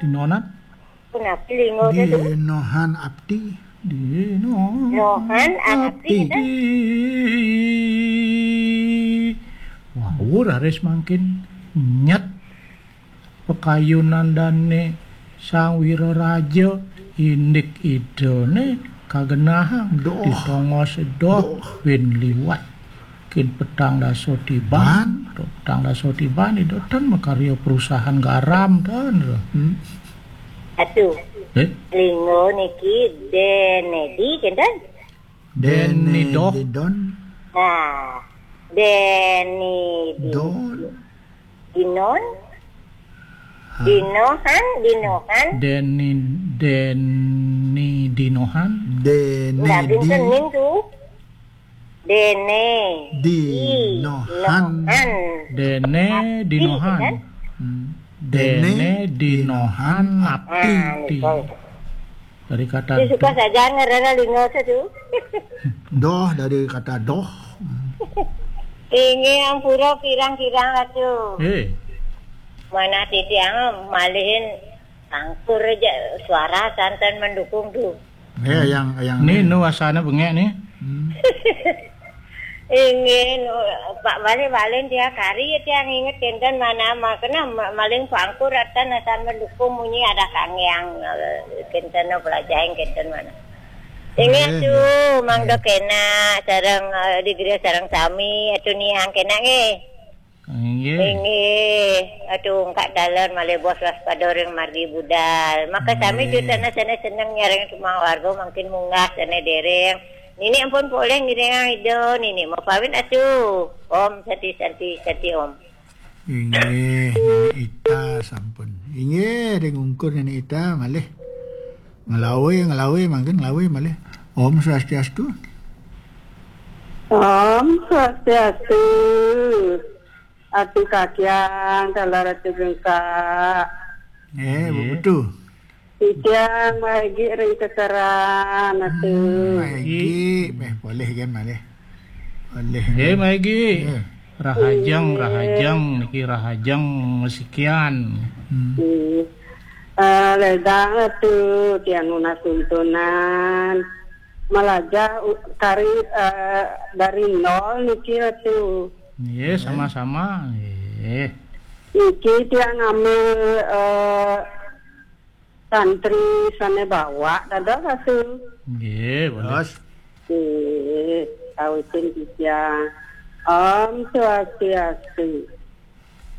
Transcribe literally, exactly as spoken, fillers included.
Nonan? Punapi lingo teh tu? Dinohan abdi. Dinohan abdi, abdi. Wah, raris mangkin nyet pakayunan dane Sang Wiraraja, indik idane kagenahang. Doh. Ditongos doh, doh. Win liwat. Kin petang dasa tiban, petang dasa tiban, ida tan makarya perusahaan garam tan. Hmm. Atu. Eh? Lingo niki denedi, kinten? Deni doh. Don. Nah, deni di-, don. Dinon? Hah? Dinohan, dinohan. Deni, deni dinohan. Deni. Nah, di- binten ning tu. Dene. Dinohan. Dinohan. Dene abdi, dinohan. Kan? Hmm. Dene dinohan. Dene dinohan abdi. Nah, abdi. Nika. Dari kata ini suka do- saja ngerana lingo tu. Doh, dari kata doh. Inggih ampura kirang-kirang Ratu. Eh. Mana titiang malihin angkur aja suara santan mendukung tu. Ya, yang, yang ni nu wasana bengek ni. Hmm. Inggih, nu, Pak, malih-malih tiang kari, tiang inget kinten mana, ma-, kena ma-, maling pangkur atan asan mendukung munyi ada kangyang, eh, kinten nu pelajahin kinten mana. Inggih, eh, tu, mangda kena sareng, eh, di gereja sareng sami, atu niang kena nggih. Inggih. Inggih. Aduh, engkak dalan malih bos waspada ring margi budal. Maka sami inggih. Juta na sana seneng nyareng sumang warga mangkin munggah sana dereng. Nini ampun poleh ngiringang ida, nini mapamit atuh. Om Santi, Santi, Santi Om. Inggih, Nini Ita sampun. Inggih, ring ungkur Nini Ita malih. Ngelawi, ngelawi, mangkin ngelawi malih. Om Swastiastu. Om Swastiastu. Atu kakiang, kala Ratu Gengkak. Eh, Bu Nggih. Betu. Titiang Maegi ring Keseran, atu. Hmm, Maegi, eh, boleh kan, malih. Boleh. Eh, Maegi. Eh. Rahajeng, Inggih. Rahajeng, niki rahajeng masikian. Hmm. Inggih. Eh, ledang atu, tiang nunas tuntunan. Malajah u-, kari, eh, dari nol niki atu. Nggih, sama-sama. Nggih. Niki tiang ngambil, eh, santri sane bawak dados atu. Nggih, boleh. Terus? Nggih, kawitin titiang. Om Swastiastu.